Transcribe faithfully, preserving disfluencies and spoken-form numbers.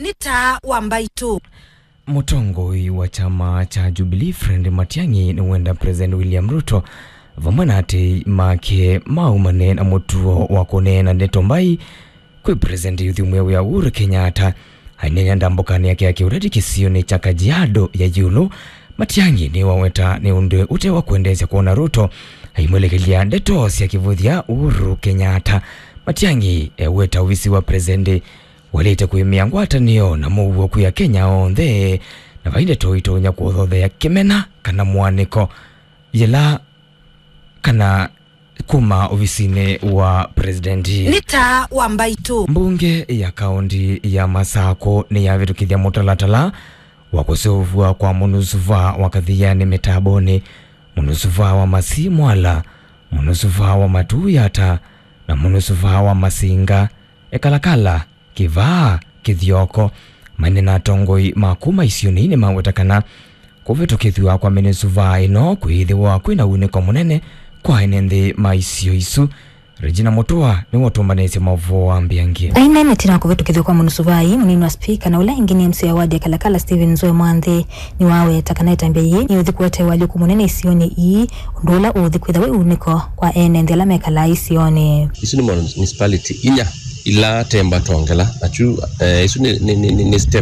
Nĩ taa wa mbaitũ. Mũtongoi wa kyama kya Jubilee Fred Matiang'i nĩwenda President William Ruto vamwe na atei make maumane na mũtuo wa kũneena ndeto mbai kwĩ President Youth Mweũ ya Uhuru Kenyatta. Aineena ndambũkanĩ yake ya kĩũteti kĩsionĩ kya Kajiado ya Yulu, Matiang'i nĩwaweta nĩ ũndũ ũte wa kwendeesya kwona Ruto aimwelekelya ndeto sya kĩvũthya Uhuru Kenyatta. Matiang'i eweta ovisi wa President waĩlĩte kũĩmĩa ngwatanĩo na mũuo kwĩ Akenya onthe, na vai ndeto itonya kũthothea kĩmena kana mũanĩko yĩla kana kuma ovisinĩ wa presidenti. Nĩ taa wa mbaitũ. Mbunge ya kaũnti ya Masakũ nĩyavĩtũkĩthya mũtalatala wa kũseũvw'a kwa mũnusuvaa wa Kathianĩ mĩtambonĩ, mũnusuvaa wa Masi Mwala, mũnusuvaa wa Matu Yata, na mũnusuvaa wa Masinga Ekalakala. Kĩvaa, Kĩthyoko, maine na atongoi ma kuma isionĩ nĩmaweta kana kũvĩtũkĩthw'a kwa mĩnĩsuvaa ĩno kwĩĩthĩwa kwĩ na unĩko mũnene kwa ene nthĩ ma isio isu. Regina Mũtũa nĩwe ũtũmbanĩsye maũvoo wa mbĩangĩ. Aine nĩtina kũvĩtũkĩthw'a kwa mũnĩsuvaa ii, mũnini wa spika na ũla ĩngĩ nĩ M C A wa wadi ya Kalakala Stephen Nzue Mwanthi nĩwaweta kana ĩtambya yĩĩ nĩũthi kũete ũalyũku mũnene isionĩ ii, ũndũ ũla ũũthi kwĩtha wĩ unĩko kwa ene nthĩ ala mekalaa isionĩ. Isu nĩ municipality inya ila temba twongela, na kyu, eh, isu nĩ, nĩ, nĩ, nĩ, nĩ step